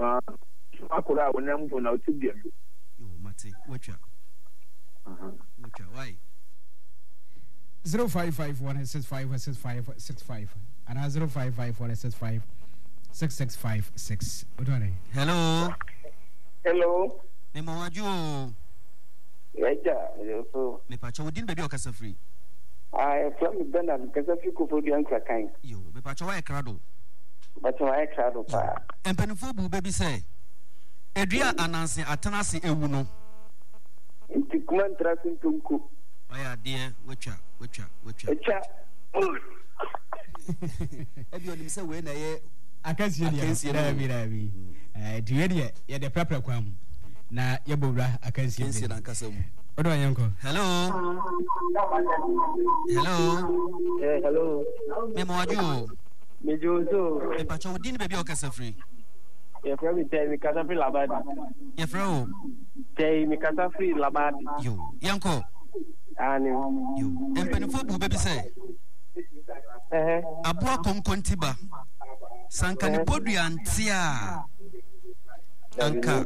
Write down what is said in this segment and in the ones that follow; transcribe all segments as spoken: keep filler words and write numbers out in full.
Ah, akora a wɔnam mpo na ɔte bia bi. Yo, mate, watwa. Watwa, why? zero five five one six five six five six five and zero five five one six five six six five six. Hello. Hello. Me ma wadwo o. Yɛgya yɛ so. Mepakyɛ wo din baabi a ɔkasa firi. Ah, yɛfrɛ me Bernard, mekasa firi Koforidua Nkrakan. Yo, mepakyɛ woayɛ krado. Mepakyɛ wayɛ krado paa. Mpanimfoɔ bu bɛ bi sɛ, edua a ananse atena ase ewu no. Nti kuma ntra so ntonko. Wayɛ adeɛ, watwa, watwa, watwa. Atwa. Ebi onim sɛ wei na ɛyɛ akansie deɛ daabi daabi nti wei deɛ yɛde prapra kwan mu na yɛbɔ wura akansie akansie nankasa mu. Wode ɔyɛ nkɔ. Hello. Hello. Eh, hello. Mema wadwo o. Megye wo so. Mepakyɛ wo din ne baabi a wokasa firi. Yɛfrɛ me Tɛi, mekasa firi Labadi. Yɛfrɛ wo? Tɛi, mekasa firi Labadi. Yo, yɛnkɔ. Aane. Yo, mpanimfoɔ bu bɛ bi sɛ, aboa konkontiba, sɛ anka ne podua nte a, anka.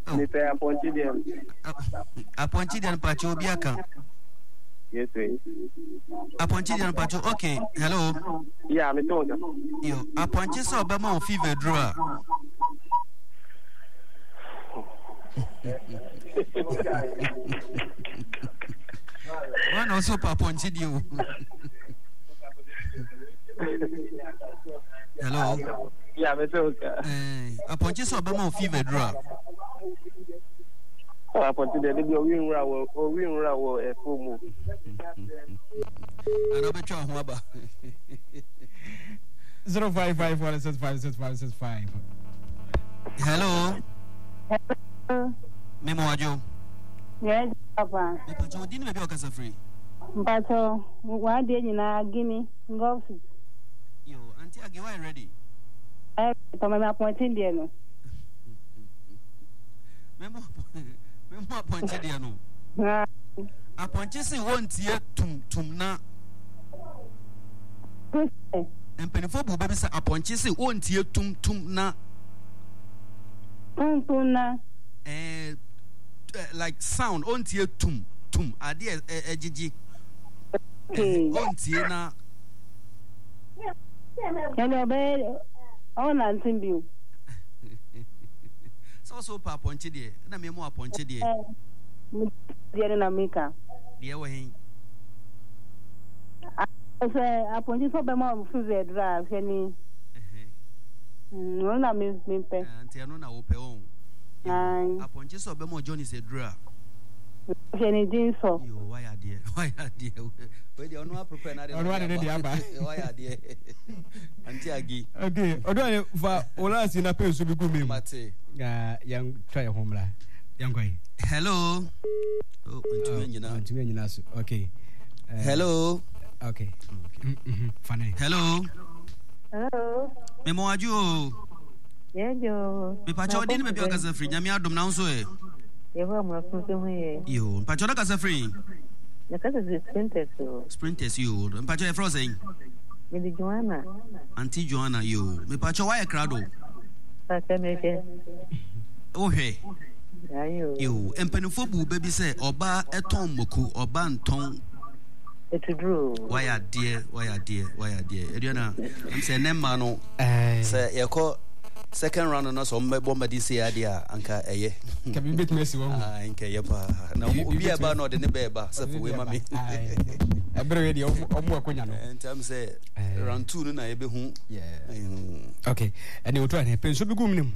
Mepɛ apɔnkye deɛ no. Apɔnkye deɛ no pakyɛ obi aka. Yes, sir. Apɔnkye deɛ no pakyɛ okay hello. Yeah, me told. Yo, apɔnkye sɛ ɔbɛma wo fever duro a. Wọn na ɔsɔ pa apɔnkye deɛ o. Hello. Yeah, me told. Eh, apɔnkye sɛ ɔbɛma wo fever duro a. Apɔnkye deɛ de bi owi nwura wɔ owi nwura wɔ ɛfo mu. Ana ɔbɛtwa ho aba. Zero five five one six five six five six five. Hello. Hello. Memo wadwo. Yes, papa. Mpacho odi ni baabi a ɔkasa firi. Mpacho wadeɛ nyinaa Guinea Ngɔfi. Yo, Auntie Agi, why ready? Eh, papa me apɔnkye deɛ no. Memo memo apɔnkye deɛ no. Apɔnkye se wɔntie tum tum na. Mpanimfoɔ bu bɛ bi sɛ apɔnkye se wɔntie tum tum na. Tum tum na. Eh, like sound ɔntie tum tum adeɛ ɛgyegye. Ɔntie na. Ɛnna ɔbɛyɛ ɔnante bio. Sɛ ɔsɛ wopɛ apɔnkye deɛ ɛna memu apɔnkye deɛ. Deɛ no na meka. Deɛ wɔ he? Sɛ apɔnkye sɛ ɔbɛma fever aduru a hwɛ ni. Ɔno na mepɛ. Nti ɛno na wopɛ ɔn. Apɔnkye sɛ ɔbɛma Johnny sɛ aduru a. Hwɛ ne din sɔ. Yo, wayɛ adeɛ, wayɛ adeɛ. Wei deɛ ɔno aprepare na ɔno ade ne deɛ aba. Wayɛ adeɛ. Auntie Agi. Okay, ɔdo ayɛ fa wɔlɔ na pɛ nsu bi gu mi mu. Mate. Na yɛn twa yɛn ho mmra. Yɛn kɔ yi. Hello. Oh, ntumi anyina. Ntumi anyina so. Okay. Uh, Hello. Okay. Mm -hmm. Fane. Hello. Hello. Memo adwo o. Yɛdwo. Mepakyɛ ɔde ne baabi a ɔkasa firi nyame adom na wo nso ɛ. Yehowa mu afunso ho yɛ. Yo, mpakyɛ ɔde kasa firi. Mekasa firi Sprinters o. Sprinters yo, mpakyɛ yɛfrɛ wo sɛn? Mede Joanna. Auntie Joanna yo, mepakyɛ woayɛ krado? Pakyɛ mehwɛ. Wohwɛ? Ayo. Yo, mpanimfoɔ bu bɛ bi sɛ ɔbaa ɛtɔn mako, ɔbaa ntɔn. Etuduro. Wayɛ adeɛ, wayɛ adeɛ, wayɛ adeɛ. Aduana, ɛm sɛ ɛnɛ mmaa no, sɛ yɛkɔ second round no sɛ ɔmbɛbɔ mmɔden sei adeɛ a anka ɛyɛ. Nka biribi bɛtumi asi wɔn ho. Nka ɛyɛ paa. Na obi a ɛba no ɔde ne bɛɛ ba sɛ fo wei ma me. Ɛberɛ wei deɛ ɔmo akonya no. Nti am sɛ round two no na yɛbɛhu. Okay, ɛne otu ahene pɛ nsuo bi gu mu ne mu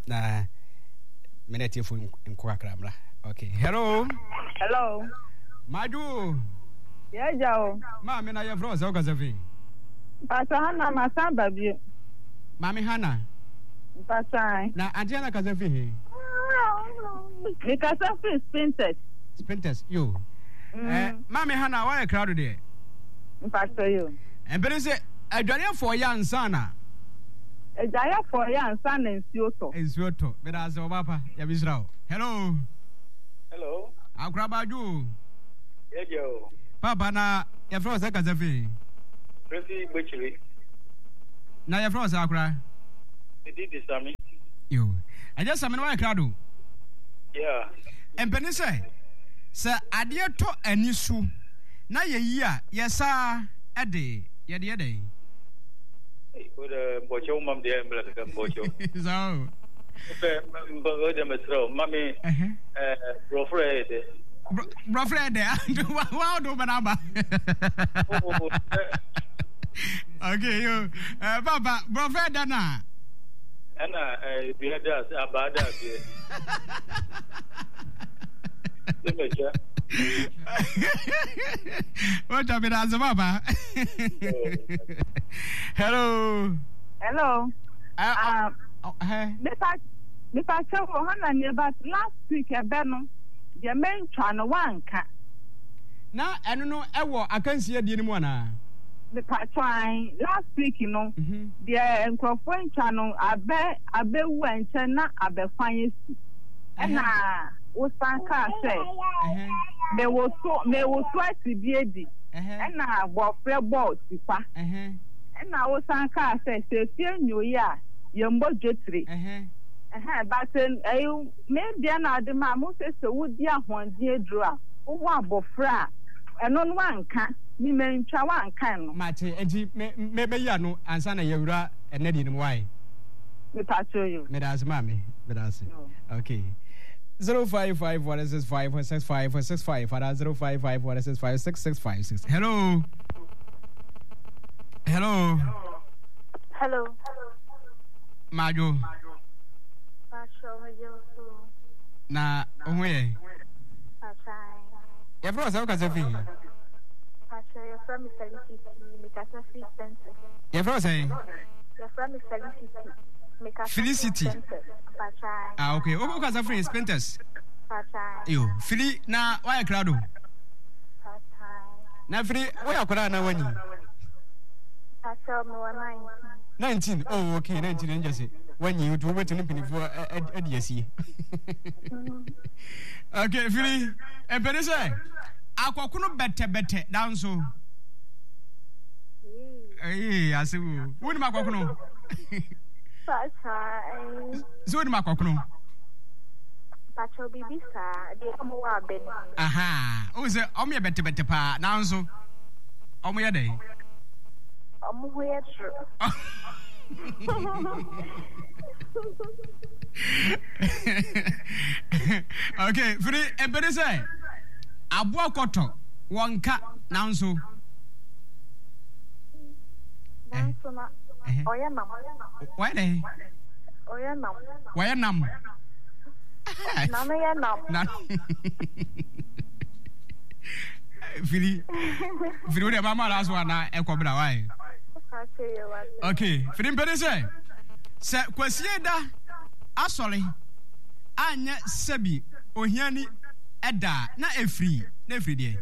na mene atiefo nkɔ kakra mmra. Okay, hello. Hello. Madwo. Yɛagya o. Maame na yɛfrɛ wo sɛ wokasa fi. Mpatsɔ Hana masan ba bio. Maame Hana. Mpatsɔ ae. Na Auntie Hana kasa fi he? Mekasa firi Spintex. Spintex, yo. Mm. Eh, Maame Hana, woayɛ krado deɛ? Mpatsɔ yo. Mpene sɛ adwareɛfoɔ yɛ ansa na. Adwareɛfoɔ yɛ ansa na nsuo tɔ. Nsuo tɔ. Meda ase ɔba pa. Nyame nhyira wo. Hello. Hello. Akoraba adwo. Yɛdeɛ o. Papa na yɛfrɛ wo sɛ kasa fi. Presi Gbekyiri. Na yɛfrɛ wo sɛ akora. Edi di Sami. Yo. Ɛgya sɛ mene wayɛ krado. Yeah. Mpanin sɛ, sɛ adeɛ tɔ ani so na yɛyi a, yɛsaa de yɛde yɛ dɛn? Wode mpɔkyɛ wo mam deɛ mmerɛ kakra mpɔkyɛ. Saa o. Wopɛ mpɔkyɛ deɛ mesrɛ wo ma me borɔforɔ yɛ dɛ. Borɔforɔ yɛ dɛ wa wo de wo bɛ n'aba. Okay yo eh, papa borɔforɔ yɛ dɛ na. Ɛna dua da ase abaa da aseɛ. Wotwa me da ase papa. Hello. Hello. Uh, uh, uh, uh, mepa mepa kyɛw wɔ hɔ na ne but last week ɛbɛ no deɛ mentwa no wanka. Na ɛno no ɛwɔ akansi adie no mu anaa? Mepa kyɛw an last week no Mhm. deɛ nkurɔfoɔ ntwa no abɛ abɛwu a nkyɛn na abɛkwan esi ɛna wosan kaa sɛ Ɛhɛ, mewoso mewoso asi bi adi ɛhɛ, ɛna bɔfrɛ bɔɔ tikwa ɛhɛ, ɛna wosan kaa sɛ sɛ efie nyoyi a yɛmmɔ dwetire. ɛhɛ. Ɛhɛn, but ɛyi me deɛ na ade maa mo sɛ sɛ wodi ahoɔden aduro a wowɔ abɔfra a ɛno no wanka me mantwa wanka no. Mate, enti me me bɛyi ano ansa na yɛwura ɛnɛ deɛ no mu wae. Mepatwo yo. Meda ase maame, meda ase. Yo. Okay. Zero five five one six five six five six five ana zero five five one six five six six five six. Hello. Hello. Hello. Madwo. Pastor, megye wo so. Na wo ho yɛ? Pastor, Yɛfrɛ wo sɛ wokasa fi he? Pastor, yɛfrɛ me Felicity, mekasa fi Spencer. Yɛfrɛ wo sɛn? Yɛfrɛ me Felicity, mekasa fi Felicity. Spencer. Pastor, Ah, okay. Wo wokasa firi Spintex? Pastor, Yo, Fili na woayɛ krado. Pastor, Na Fili, woyɛ akwadaa anaa woanyin? Pastor, mewɔ nineteen. Nineteen, oh okay, nineteen ɛnkyɛ sɛ woanyin nti wobɛtumi ne mpanimfoɔ adi asie. Okay, Fili, ɛmpɛne sɛ akɔkono bɛtɛbɛtɛ danso. Ee, ase wo. Wonim akɔkono? Pastor, Sɛ wonim akɔkono? Pastor, biribi saa, deɛ ɔmo wɔ abɛ no. Aha, wohu sɛ ɔmo yɛ bɛtɛbɛtɛ paa, nanso ɔmo yɛ dɛn? Ɔmo ho yɛ toro. Okay, firi ebere sɛ aboa kɔtɔ wɔn ka nanso. Nanso na ɔyɛ nam. Wɔyɛ dɛn? Ɔyɛ nam. Wɔyɛ nam. Nano yɛ nam. Na firi firi wo deɛ mama last one na ɛkɔ bra wae. Okay, firi mpɛne sɛ sɛ kwasie da asɔre anyɛ sɛbi ohiani ɛda na efiri na efiri deɛ.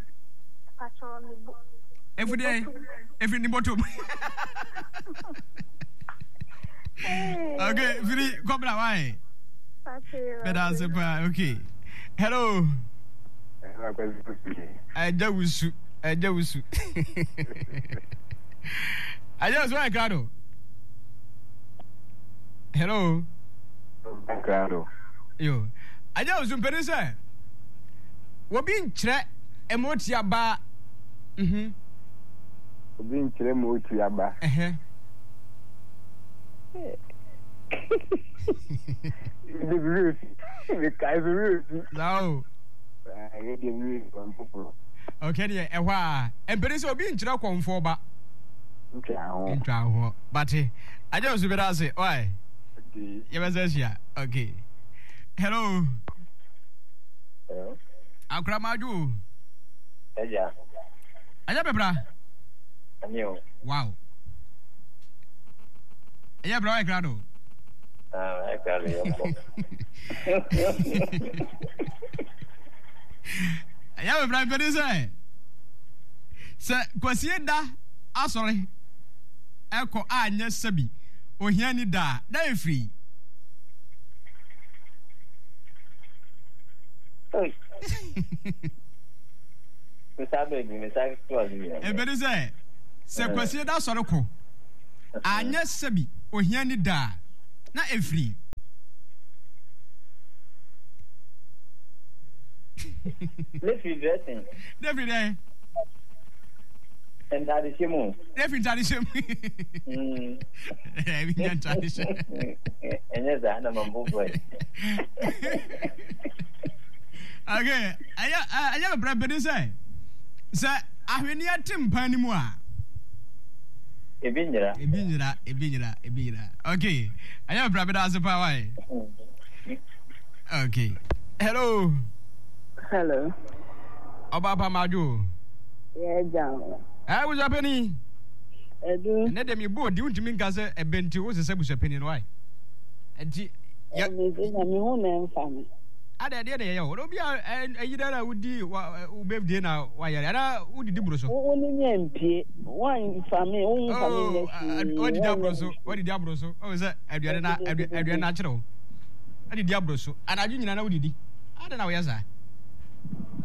Efiri deɛ efiri ne bɔtɔm. Okay, firi kɔ bra wae. Bɛda ase paa. Okay. Hello. Ɛgya wusu. Ɛgya wusu. Ɛgya wusu ayɛ krado. Hello. Krado. Yo. Ɛgya wusu mpɛni sɛ obi nkyerɛ ɛmɔti aba. Mhm. Obi nkyerɛ mɔti aba. Ɛhɛ. Mede me werɛ fi. Mekae so werɛ fi. Saa o. Ɛyɛ deɛ me werɛ fi wɔn foforɔ. Okay deɛ ɛhɔ a mpɛni sɛ obi nkyerɛ kɔnfoɔ ba. Ntwa ho. Ntwa ho. Bate. Agye osu bɛda ase. Why? Okay. Yɛbɛsɛ ahyia. Okay. Hello. Hello. Akora madwo o. Ɛgya. Ɛyɛ bɛbra. Ɛne o. Wow. Ɛyɛ bra ɔyɛ krado. Ah, ɛyɛ krado yɛ kɔ. Ɛyɛ bɛbra mpɛni sɛ sɛ kwasie da asɔre ɛkɔ a nyɛ sɛbi ohia ni da da efiri. Ebedi sɛ, sɛ Kwasida sɔre kɔ, anyɛ sɛbi ohia ni da a, na efiri. Ne firi dressing. Ne firi dɛn? Ntaade hyɛ mu. Ne firi ntaade hyɛ mu. Ɛbi nya ntaade hyɛ. Ɛnyɛ saa na ma mbɔ bɔ yi. Okay, ɛyɛ ɛyɛ bebrɛ bɛni sɛ sɛ ahweneɛ te mpan no mu a. Ebi nyera. Ebi nyera, ebi nyera, ebi nyera. Okay, ɛyɛ bebrɛ bɛda ase paa wae. Okay. Hello. Hello. Ọba pa madwo. Yeah, John. Eh, busuapani. Edu. Ne de mi bo di untimi nka sɛ ɛbɛ nti wo sesɛ busuapani no wae. Nti yɛ. Ɛmi na mi hu na ɛnfa mi. Ada ɛdeɛ na yɛyɛ o. Obi a ɛyi dɛ na wodi wa wo birthday na wayɛrɛ ana wodidi boro so. Wo ne mi mpie. Wɔnfa mi, wo nfa mi nyɛ hwee. Wadidi aboro so, wadidi aboro so. Ɔwɔ sɛ aduane na aduane na akyerɛ wo. Adidi aboro so. Anadwo nyinaa na wodidi. Adɛn na woyɛ saa?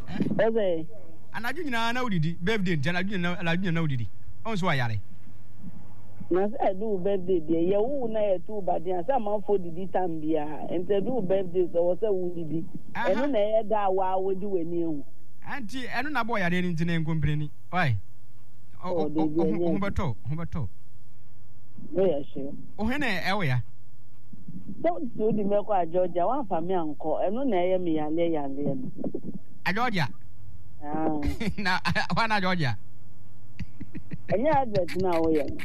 Ɔsɛ. Anadwo nyinaa na wodidi. Birthday nti anadwo nyinaa anadwo nyinaa na wodidi. Ɔn so wayare. Na sɛ ɛdu wo birthday deɛ yɛ wo na yɛto wo baden a sɛ amanfoɔ didi tam biara nti ɛdu wo birthday sɛ wɔ sɛ wodidi ɛno na ɛyɛ da a waa wodi w'ani ahu. Nti ɛno na abɔ yareɛ no nti na nkompreni. Why? Oh, debi ɛnyɛ. Ho bɛtɔ, ho bɛtɔ. Woyɛ sure. Ohe na ɛwɔ ya. Sɛ wode sɛ wode mɛkɔ a Georgia woamfa me ankɔ ɛno na ɛyɛ me yareɛ yareɛ no. A Georgia? Ah. Na hɔ na Georgia? Ɛnyɛ advert no a woyɛ no.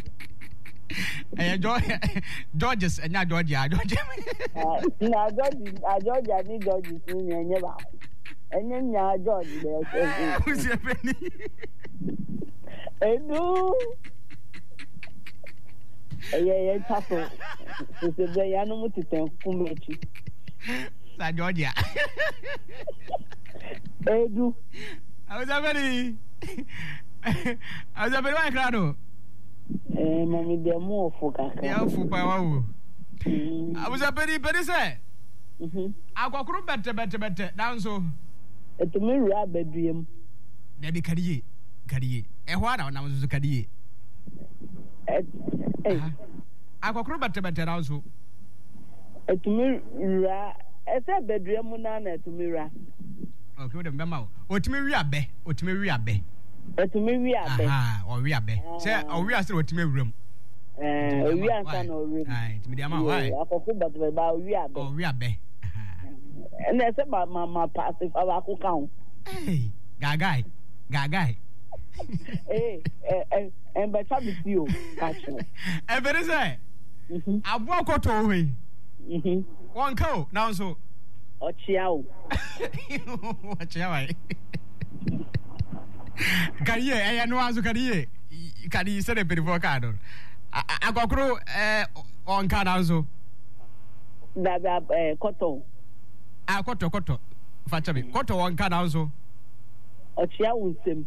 Ɛyɛ Georges ɛnyɛ Georgia Georgia. Na Georges a Georgia ne Georges no nyɛ ɛnyɛ baako. Ɛnyɛ nyaa George na ɛsɛ. Abusua panyin. Edu. Ɛyɛ yɛn twa so. Sese bɛ yanom tetɛ nkum akyi. Sa Georgia. Edu. Abusua panyin. Abusua panyin wa kra do. Eh, mami deɛ mu ɔfo kakra. Deɛ ɔfo paa wa wo. Abusua panyin panyin sɛ. Akɔkoro bɛtɛbɛtɛbɛtɛ nanso. Ɛtumi wura abadua mu. Dabi kari yie kari yie ɛhɔ ara na ɔnam nso kari yie. Akɔkoro bɛtɛbɛtɛ nanso. Ɛtumi wura ɛsɛ abadua mu naa na ɛtumi wura. Ok o de mbɛma o otumi wi abɛ otumi wi abɛ. Ɛtumi wi abɛ. Ɔwi abɛ sɛ ɔwi ase na otumi awura mu. Owi ansa na ɔwura mu. Tumi de ama wo ayi. Akɔkoro bɛtɛbɛtɛ ba owi abɛ. Ɔwi abɛ. Ɛna ɛsɛ ma ma ma paase fa baako ka ho. Ee gaagae gaagae. Ee ɛ ɛ ɛnbɛtwa mi ti o kakyɛ. Ɛfɛri sɛ aboa kɔtɔ wɔ hɔ yi. Wɔn ka o nanso. Ɔkyea o. Ɔkyea wa yi. Kariye ɛyɛ no aso kariye kariye sɛde mpanyinfoɔ kaa no akɔkoro ɛɛ ɔnka nanso. Dabi ɛɛ kɔtɔ. A kɔtɔ kɔtɔ fakyɛ mi kɔtɔ ɔnka nanso. Ɔkyea wo nsam.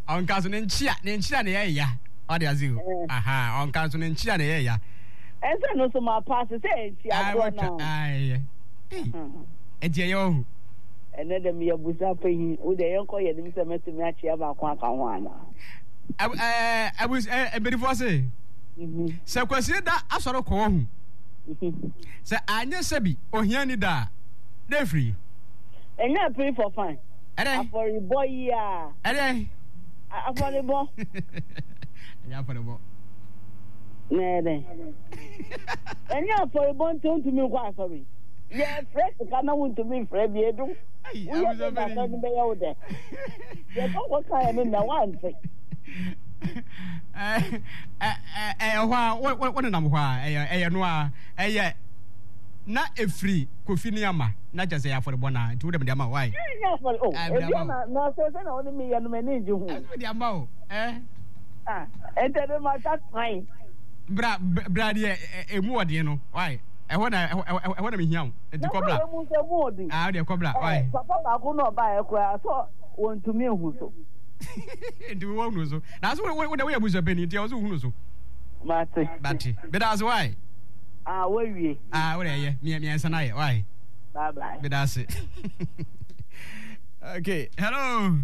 Ɔnka so ne nkyia ne nkyia na ɛyɛ ya ɔde ase o aha ɔnka so ne nkyia na ɛyɛ ya. Ɛsɛ no so ma paase sɛ nkyia korɔ na. Ayi ɛnti ɛyɛ ɔhu. Ɛnɛ dɛ meyɛ busa panyin, wo deɛ yɛnkɔ yɛn anim sɛ mɛtumi akyea baako aka ho anaa? Abus ɛ mpanyinfoɔ se mhm. sɛ kwasie da asɔre kɔ ɔhu mhm. sɛ anyɛ sɛbi ohia ni da a dɛ firi. Ɛnyɛ pray for fine. Ɛdɛ. Afɔrebɔ yi a. Ɛdɛ. Afɔrebɔ. Ɛnyɛ afɔrebɔ. Na ɛdɛ. Ɛnyɛ afɔrebɔ nti ontumi nkɔ asɔre. Yɛfrɛ sika na wontumi mfrɛ bi edu. Woyɛ dɛ na asɔre no bɛyɛ wo dɛ. Yɛkɔ kɔka yɛ no na woante. Ɛyɛ hɔ a wonenam hɔ a ɛyɛ ɛyɛ no a ɛyɛ na efiri kofi ne ama na kyɛ sɛ ɛyɛ afɔrebɔ na nti wode mede ama wo ae. Ɛnyɛ afɔre o ebi ama na sɛ sɛ na wone meyɛ no m'ani ngye ho. Ɛsɛ mede ama wo ɛ. Ah ɛntɛ de ma ta kwan. Bra bra deɛ emu ɔden no wae. Ɛhɔ na ɛhɔ na mehia wo. Nti kɔ bra. Na mu sɛ mu ɔden. Ah, deɛ kɔ bra. Why? Papa baako na ɔbaeɛ koraa sɛ wɔntumi nhu so. Nti wowɔ hunu so. Na so wo wo woyɛ abusua panyin nti ɛwɔ so wohunu so. Mate. Bate. Beda ase why? Ah, wawie. Ah, wo deɛ ɛyɛ. Mmiɛnsa na ayɛ. Why? Bye bye. Beda ase. Okay, hello.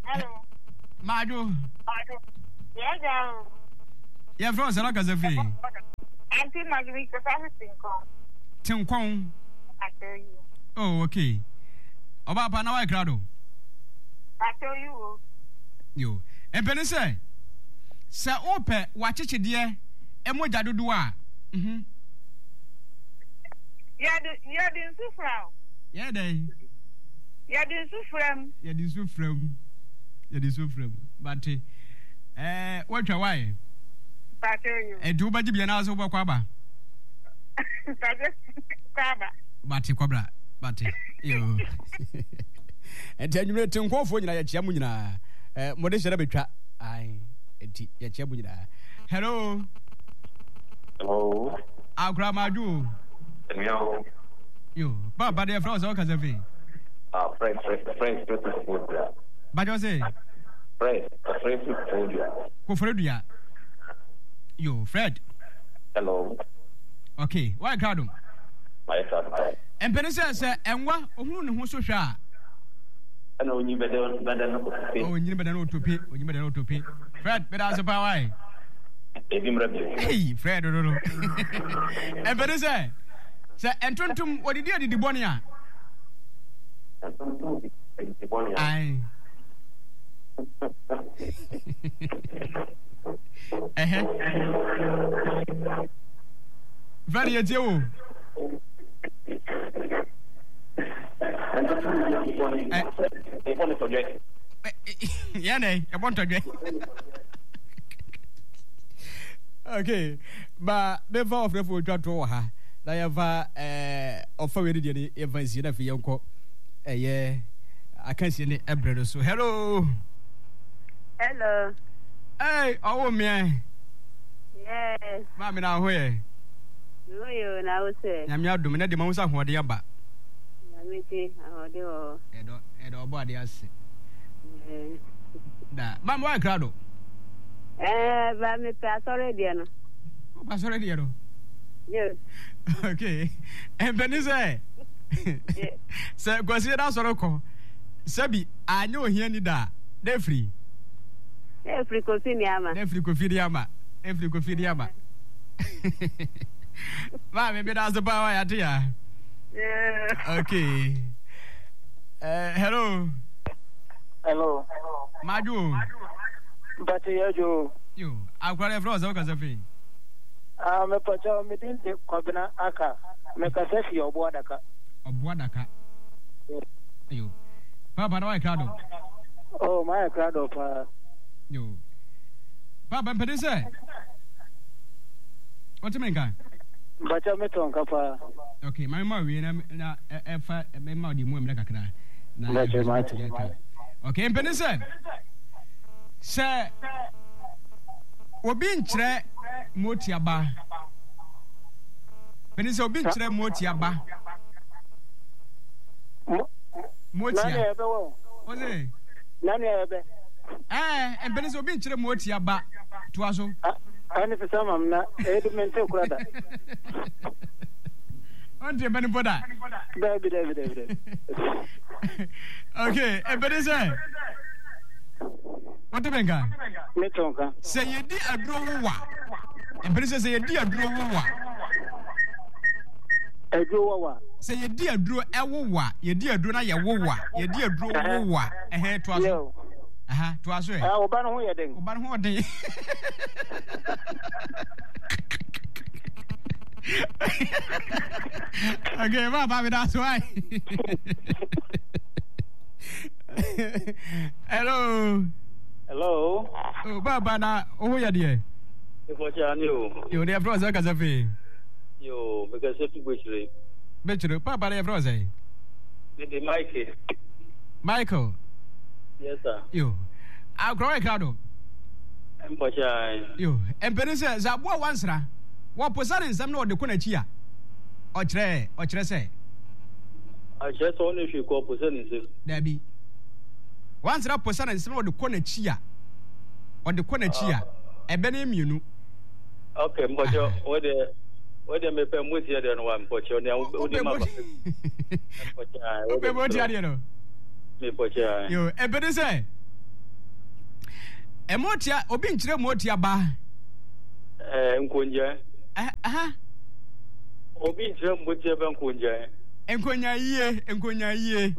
Hello. Maadwo. Maadwo. Yɛ gya o. Yɛ fɛ ɔsɛ ɔkasa firi. Auntie Marguerite kasa fi Tinkɔn. Tinkɔn. Pacho yi. Oh, okay. Ɔbaa pa na wayɛ krado. Pacho yi wo. Yo. Mpɛne sɛ sɛ wopɛ wakyekyedeɛ mogya dodoɔ a. Mhm. Yɛde yɛde nsu fra o. Yɛ dɛn? Yɛde nsu fra mu. Yɛde nsu fra mu. Yɛde nsu fra mu. Bate. Ɛɛ wɔtwa wae. Pacho yi. Ɛnti wobɛgye bia na sɛ wobɛkɔ aba. Pacho kɔ aba. Bate kɔbra. Bate. Yo. Ɛnti anwummerɛ te nkɔɔfoɔ nyinaa yɛkyea mu nyinaa. Ɛɛ mode hyɛ na bɛtwa. Ae. Ɛnti yɛkyea mu nyinaa. Hello. Hello. Akora madwo. Hello. Yo, papa deɛ frɛ wo sɛ wokasa fei. Ah, Fred, Fred, Fred, Fred Koforidua. Bajɔ se? Fred, Fred Koforidua. Koforidua. Yo, Fred. Hello. Okay, why krado? Ayɛ krado. Mpɛne sɛ sɛ ɛnwa ohunu ne ho so hwɛ a. Ɛna onyi bɛdɛ bɛdɛ no otope. Oh, onyi bɛdɛ no otope, onyi bɛdɛ no otope. Fred, bɛda ase paa wae. Ebi mmerɛ bio. Hey, Fred no no. Mpɛne sɛ sɛ ntontom wɔdidi adidi bɔne a. Ntontom didi adidi bɔne a. Ae. Ɛhɛ. Fred yɛ tie wo. Ntontom didi adidi bɔne. Ɛbɔ ne tɔdwɛ. Yɛn dɛ ɛbɔ ntɔdwɛ. Okay. Ba mefa ɔfrɛfo otwa to wɔ ha na yɛmfa ɛɛ ɔfa wei ne deɛ ne yɛmfa nsie na afei yɛnkɔ ɛyɛ akansie ne ɛbrɛ no so. Hello. Hello. Hey, ɔwɔ mmeɛ. Yes. Maame na aho yɛ. Ho yɛ o na wo sɛ. Nyame adom ne de ma wo sɛ ahoɔden aba. Nyame ti ahoɔden wɔ hɔ. Ɛdɔ ɛdɔ ɔbɔ ade ase. Da maame wa kra do. Ɛɛ ba mepɛ asɔre deɛ no. Wopɛ asɔre deɛ no? Yes. Okay. Mpɛni sɛ sɛ Kwasi da asɔre kɔ sɛbi anyɛ ohia ni da na efiri. Na efiri Kofi ni ama. Na efiri Kofi ni ama. Efiri Kofi ni ama. Maame bi da ase paa wa yate ya. Okay. Uh, hello. Hello. Madwo. Mpate yɛ dwo. Yo, akora yɛ frɛ ɔsɛ wokasa fei. Ah, mepɔkyɛ me din de Kwabena Aka. Mekasa fi Ɔbo Adaka. Ɔbo Adaka. Yo. Papa na wayɛ krado. Oh, mayɛ krado paa. Yo. Papa mpɛde sɛ wote me nka? Mpɔkyɛ metɔ nka paa. Okay, ma mema wie na na ɛfa mema ɔde mu mmerɛ kakra. Na Mpɔkyɛ mate. Okay, mpɛde sɛ sɛ obi nkyerɛ motiaba pɛni sɛ obi nkyerɛ motiaba motia ɔse ɛɛ mpɛni sɛ obi nkyerɛ motiaba toa so. Ɛne sɛ sɛ mam na ɛyɛ mente kora da. Ɔnte bɛni bɔ da. Dabi dabi dabi dabi. Okay, ɛbɛni sɛ. Wote me nka? Mete wo nka. Sɛ yɛdi aduro wowa. Mpene sɛ sɛ yɛdi aduro wowa. Aduro wowa. Sɛ yɛdi aduro ɛwowa, yɛdi aduro na yɛwowa, yɛdi aduro wowa. Ɛhɛn toa so. Aha, toa so ɛ. Ɛɛ, ɔba no ho yɛ den. Ɔba no ho ɔden. Okay, ba ba mi da so ai. Hello. Hello. Oh, baba na oh ya deɛ. Ifɔkyɛ ani o. Yo, deɛ frɛ sɛ kasa fee. Yo, mekasa fi Bɛkyire. Bɛkyire, papa deɛ frɛ sɛ. Me de Michael. Michael. Yes sir. Yo. Akora wɔ krado. Mpɔkyɛ ayi. Yo, mpɛni sɛ sɛ aboa wansra wɔposa ne nsɛm na ɔde kɔ n'akyi a ɔkyerɛ ɔkyerɛ sɛ. Ɔkyerɛ sɛ ɔne hwee kɔ ɔposa ne nsam. Dabi. Wansra posa ne nsam na ɔde kɔ n'akyi a, ɔde kɔ n'akyi a, ɛbɛ no yɛ mmienu. Ok, mpɔkyɛ, wo deɛ, wo deɛ mepɛ mmotia deɛ no wa mpɔkyɛ, nea wo de ma ba. Mpɔkyɛ, wopɛ mmotia deɛ no. Mepɔkyɛ. Yo, ɛbɛ ne sɛ, mmotia, obi nkyerɛ mmotia ba. Ɛɛ, nkongyɛ. Ɛha. Obi nkyerɛ mmotia bɛ nkongyɛ. Nkonya yie, nkonya yie.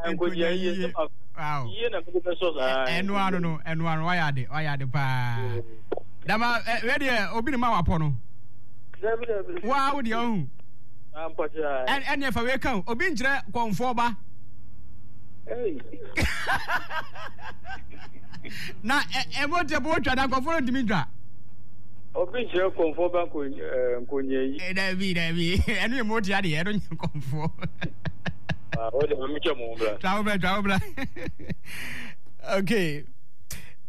Nkonya yie. Wow. Yie na mede bɛsɔ saa. Ɛno ano no, ɛno ano wayɛ ade, wayɛ ade paa. Dama ɛ deɛ obi ne ma wapɔ no. Dabi dabi. Waa wo deɛ ɔhu. Ampɔkyɛ. Ɛne ɛfa wei ka o, obi nkyerɛ kɔnfoɔ ba. Na ɛmɔ tiɛ bɔ twa na nkɔfoɔ no ntumi ntwa. Obi nkyerɛ kɔnfoɔ ba nkonya yi. Dabi dabi, ɛno yɛ mɔ tia deɛ ɛno nyɛ kɔnfoɔ. O de ma mi twɛ mo bra. Twa wo bra, twa wo bra. Okay,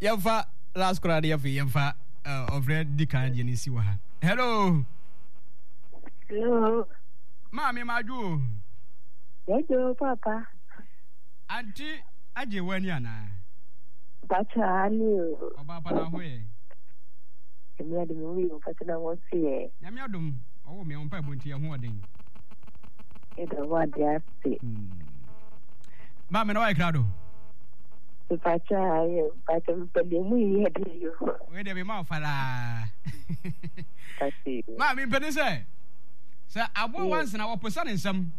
yɛmfa last koraa de yɛfei yɛmfa ɔfrɛ di kan deɛ no nsi wɔ ha. Hello. Hello. Maame madwo o. Yɛdwo papa. Auntie agye w'ani anaa? Pacha ani o. Ɔbaa pa na ho yɛ. Nyame adom ho yɛ pacha na ho so yɛ. Nyame adom ɔwɔ me ɔmpa ɛbɔ nti ɛho ɔden. Ɛda wo ade ase. Maame na wayɛ krado. Pacha ayɛ pacha mepɛ deɛ mu yɛ de yo. Wei deɛ mema wo falaa. Maame mpɛ ne sɛ sɛ aboa wansena wɔposa ne nsam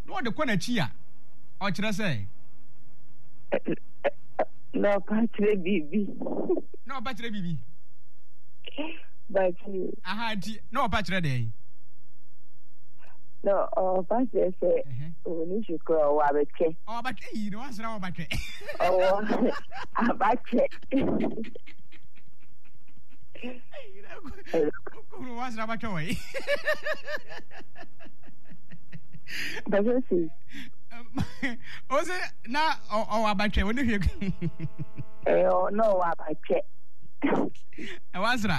na ɔde kɔ n'akyi a ɔkyerɛ sɛ. Na ɔpa kyerɛ biribi. Na ɔpa kyerɛ biribi. Bàtí. Aha nti na ɔpa kyerɛ dɛn? Na ɔpa kyerɛ sɛ òní si kura ɔwɔ abɛtwɛ. Ɔwɔ abatwɛ yi na wansra ɔwɔ abatwɛ. Ɔwɔ abatwɛ. Kuro wansra abatwɛ wɔ yi. Bàtí si. O se na ɔwɔ abatwɛ ɔne hwɛ. Ɛɛ na ɔwɔ abatwɛ. Ɛwɔ asra.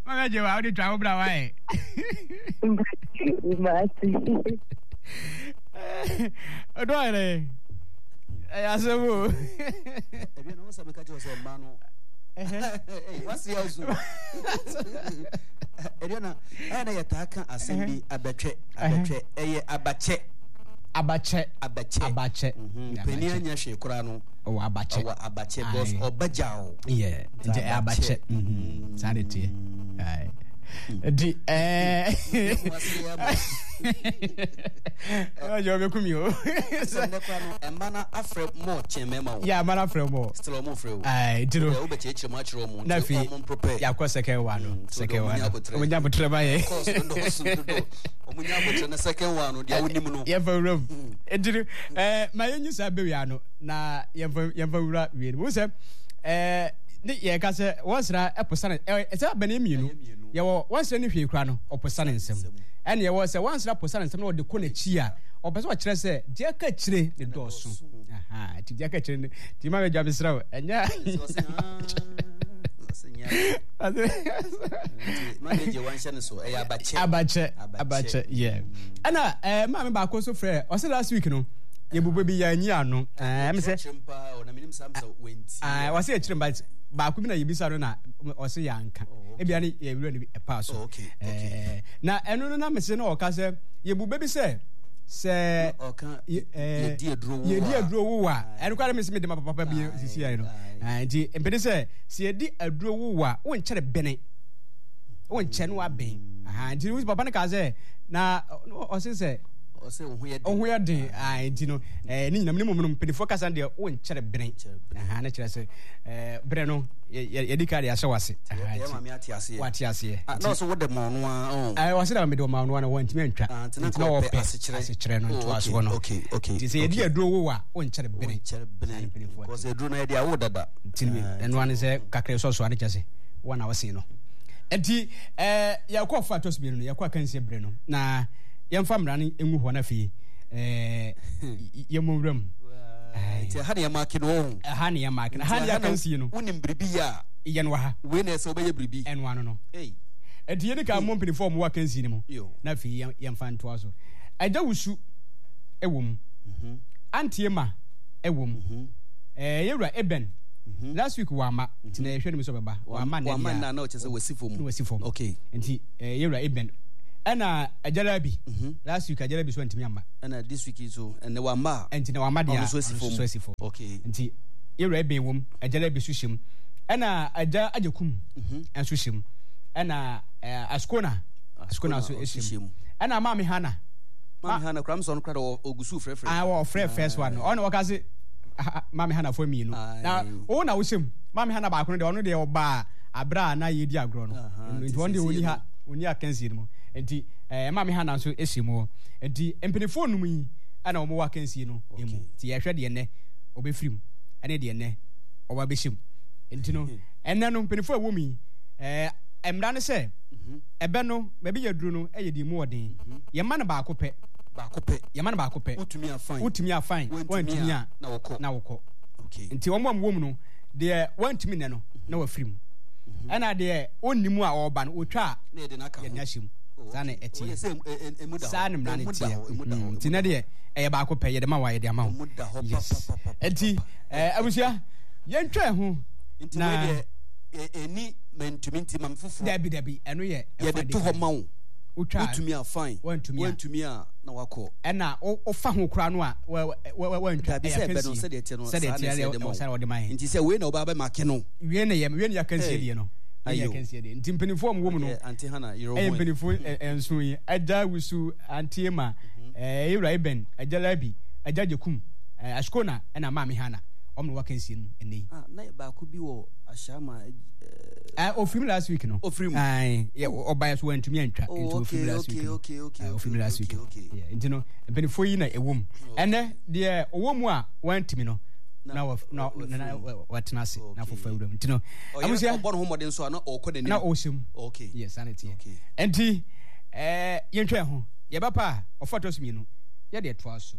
Mama gye wa wode twa wo bra wae. Ɔdɔ ayɛ ɛyɛ asɛm o. Ɛbi na wɔn sɛ meka kyerɛ sɛ mmaa no wasi azu ɛdeɛ na ɛyɛ na yɛtaa ka asɛm bi abɛtwɛ abɛtwɛ ɛyɛ abakyɛ abakyɛ abakyɛ abakyɛ panin anya hwee koraa no ɔwɔ abakyɛ ɔwɔ abakyɛ because ɔba gya o yɛ nti ɛyɛ abakyɛ saa de teɛ nti ɛɛ ɔyɛ ɔbɛku mi o. Sɛ nnɛ koraa no mma no afrɛ mɔ kyɛn mmarima o. Yɛ mma no afrɛ mɔ. Still ɔmo frɛ o. Ayi nti no. Wobɛkyerɛkyerɛ mu akyerɛ ɔmo. Na afei yɛakɔ second one no. Mm, second one no. Ɔmo nya abotrɛ ma yɛ. Course no dɔɔso dodo. Ɔmo nya abotrɛ na second one no deɛ wonim no. Yɛmfa wura mu. Nti no ɛɛ ma yɛnyi saa bɛwia no na yɛmfa yɛmfa wura wie no. Mo sɛ ɛɛ ne yɛka sɛ wɔnsra ɛposa ne ɛɛ ɛsɛ abɛn mmienu. Yɛwɔ wɔnsra ne hwee kura no ɔposa ne nsam. Ɛna yɛwɔ sɛ wɔnsra posa ne nsam na ɔde kɔ n'akyi a ɔpɛ sɛ ɔkyerɛ sɛ deɛ aka akyire ne dɔɔso. Nti deɛ aka akyire no nti ma mɛgya mesrɛ wo ɛnyɛ abakyɛ abakyɛ yɛ ɛna ɛɛ maame baako nso frɛ ɔsɛ last week no yɛbobɔ bi yɛanyi ano ɛɛ mi sɛ ɛɛ ɔsɛ akyire mba baako bi na yɛbisa no na ɔsɛ yɛanka ebia ne yɛwura no bi ɛpaa so ɛɛ na ɛno no na mese na ɔka sɛ yɛbu bɛ bi sɛ sɛ yɛdi aduro wo a ɛno koraa mese mede ma papa bi sisi ayɛ no nti mpɛde sɛ sɛ yɛdi aduro wo a wonkyɛre bene wonkyɛ no wabɛn nti papa no kaa sɛ na ɔse sɛ ɔho yɛ den nti no ne nyinam ne mmom no mpanimfoɔ kasa deɛ wonkyɛre bene ne kyerɛ sɛ berɛ no yɛdi ka de ahyɛ wase wate aseɛ Ah, na ɔsɛ wode ma ɔno ara oh. Eh, ɔsɛ dɛ mede ɔma ɔno ara wantumi antwa. Ah, nti na Nti na ɔpɛ ɔpɛ asekyerɛ. asekyerɛ no Oh, ntoasoɔ okay, no. okay, okay, Nti sɛ yɛde okay. aduro wo a, wonkyɛre bene. Wonkyɛre bene. Saa ne mpanimfoɔ Because te. aduro no yɛde awo dada. Nti no, Ah, ɛno ara ne sɛ kakra ɛsɔ so a ne kyɛ sɛ wɔn na wɔsen no. Nti eh, yɛkɔ ɔfa ɛtɔ so mmienu no, yɛkɔ akansie berɛ no, na yɛmfa mmara no ngu hɔ no afei eh, yɛmmɔ nwura mu. Nti ɛha ne yɛmaake no ɔho. Ɛha ne yɛmaake no. Nti Ɛha ne ɛha na yɛakansie no. wonim biribi yɛ a. Yɛ no wɔ ha. Wei na ɛsɛ wobɛyɛ biribi. Ɛno ano no. Ei. Enti yɛdi kan mmɔ mpanimfoɔ a wɔwɔ akansi no mu, Yo. na afei yɛn yɛmfa ntoa so. Agya Wusu wɔ mu. Auntie Emma wɔ mu. Ɛɛ yɛn wura Eben. Last week wamma, nti na yɛhwɛ no mu sɛ ɔbɛba. Wamma nnɛ Wamma deɛ nnɛ a, a na ɔkyerɛ sɛ wasi fam. na wasi fam. Okay. Nti ɛɛ yɛn wura Eben. Ɛna Agya Rabi. Last week Agya Rabi nso antumi amma. Ɛna this week nso ɛnnɛ wamma a. Nti na wamma deɛ Ɔno a, nso asi ɔno fam. nso asi fam. Okay. Nti yɛn wura Eben wɔ mu, Agya Rabi nso hyɛ mu. Ɛna Agya Agyekum nso hyɛ mu. Ɛna Askona Askona nso hyɛ mu. Ɛna Maame Hana. Maame Hana kura msɔn kura dɛ ogusu frɛfrɛ. Ah, wɔ frɛ first one. Ɔno wɔka se Maame Hana fo mmienu. Na wo na wohyɛ mu. Maame Hana baako no deɛ ɔno deɛ ɔbaa abere a na yɛdi agorɔ no. Nti ɔno deɛ ɔni ha ɔni akansie no mu. Nti ɛɛ Maame Hana nso hyɛ mu. Nti mpanimfoɔ num yi ɛna wɔn wɔ akansie no mu. Nti yɛhwɛ deɛ nnɛ ɔbɛfiri mu ɛne deɛ nnɛ ɔba bɛhyɛ mu. Nti no ɛnnɛ no mpanimfoɔ a ɛwɔ mu yi ɛɛ mmara ne sɛ mhm. ɛbɛ no baabi yɛ duro no ɛyɛ deɛ mu ɔden. Mhm. Yɛma no baako pɛ. Baako pɛ. Yɛma no baako pɛ. Wotumi afan. Wotumi afan. Wantumi a na wɔkɔ. Na wɔkɔ. Okay. Nti wɔn a wɔwɔ mu no deɛ wantumi nnɛ no na wafiri mu. Mhm. Ɛna deɛ ɔnni mu a ɔreba no ɔtwa a na yɛde no aka ho. Yɛde no ahyɛ mu. Oh, Saa na ɛteɛ. Sɛ Saa na mmara no teɛ. Nti na deɛ ɛyɛ baako pɛ yɛde ma wa yɛde ama wo. Yes. Nti ɛɛ abusua yɛntwa ɛho. Nti wei deɛ ɛni mɛntumi nti ma me foforɔ. Dabi dabi ɛno yɛ ɛfa yɛde to hɔ ma wo. Wotwa wotumi a fine. Wantumi a wantumi a na wakɔ. Ɛna wofa ho koraa no a wantwa. Dabi sɛ ɛbɛ no sɛdeɛ ɛteɛ no saa na ɛsɛ ɛde ma wo. Nti sɛ wei na ɔba bɛ make no. Wei na yɛ wei na yɛ akansie deɛ no. Wei na yɛ akansie deɛ. Nti mpanimfoɔ a wɔwɔ mu no. Auntie Hannah yere ho. Ɛyɛ mpanimfoɔ nson yi. Agya Wusu, Auntie Emma, Ewura Eben, Agya Labi, Agya Gyekum, Ashkona ɛna Maame Hannah. Wɔn na wɔwɔ akansie no ɛnɛ yi. Ah, na baako bi wɔ Ahyɛama. Eh, ofiri mu last week no. Ofiri mu. Ayi, ɔba yɛ so wantumi antwa. Oh, nti ofiri mu last week no. Okay, okay, okay. Ofiri mu last week no. Nti no, mpanimfoɔ yi na ɛwɔ mu. Ɛnɛ deɛ ɔwɔ mu a wantumi no na wa na na watena ase na fofa wura mu. Nti no, abusua. Ɔbɔ ne ho mmɔden so a na ɔkɔ n'anim. Na ɔhyɛ mu. Okay. Yes, saa na ɛteɛ. Nti, ɛɛ yɛntwa ho. Yɛbɛpa a ɔfa tɔ so mmienu. Yɛde ɛtoa so.